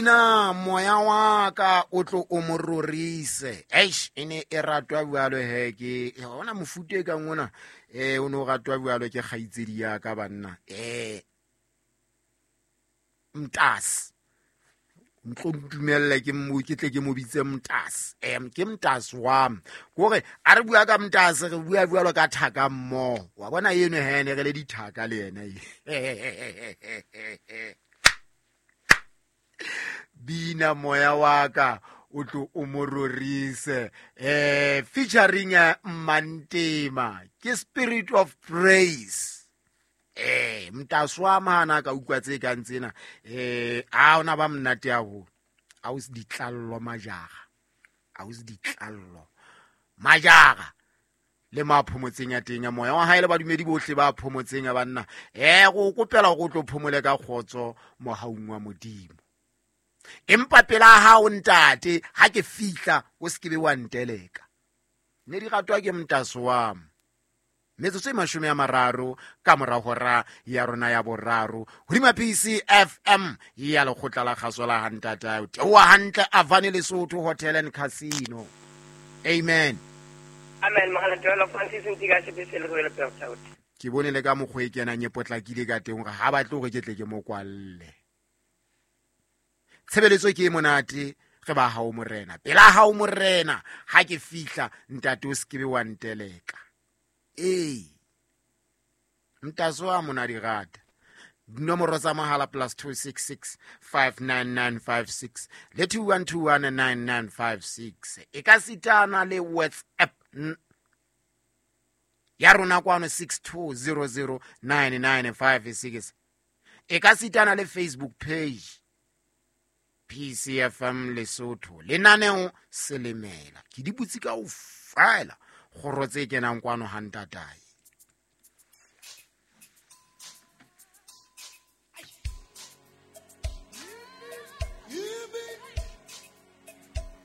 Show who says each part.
Speaker 1: Bina moya wa ka o tlo o mo rorise. Eish, e ne e ratwa bjalo he ke ona mofuta e kang ona, o ne o ratwa bjalo ke kgaitsedi ya ka banna. Mntase ntlo ntumelle ke mo ke tle ke mo bitse mntase. Ke mntase wa me. Kore a re bua ka mntase, re bua bjalo ka thaka mmoho. Wa bona eno he ne re le dithaka le yena e. Bina moya wa ka o tlo o mo rorise. Featuring Mantema ke Spirit of Praise. Mntase wa mana ka utlwa tse kang tsena. A ona ba monate haholo. A o se ditlallo majara. A o se ditlallo majara. Le ma phomotseng ya teng ya moya wa hae le badumedi bohle ba phomotseng ya banna. Go kopela go tlo phomole ka kgotso mohaung wa Modimo. Empa pela hao ntate ha ke fihla o se ke be wa nteleka. Ne di ratwa ke mntase wa me. Metsotso e 30 ka mora hora ya rona ya boraro hodima PCFM ya lekgotla la kgaso la Hantata. O theoha hantle Avani Lesotho Hotel and Casino. Amen.
Speaker 2: Amen. Mogala Joel Francis Ntiga Sebese le Royal Port.
Speaker 1: Ke bone le ka mokgwa e kenang e potlakile ka teng hore ha batle hore ke tle ke mo kwalle. Tshebeletso ke e monate, re ba hao morena. Pela hao morena, ha ke fihla ntate o se ke be wa nteleka. Ee, mntase wa mona di rata. Dinomoro tsa mohala plus two six six five nine nine five six le two one two one nine nine five six. E ka sitana le WhatsApp ya rona kwano six two zero zero nine nine five six. E ka sitana le Facebook page PCFM Lesotho. Lenaneo Selemela. Ke di butse kaofela kgoro tse kenang kwano ha ntatae.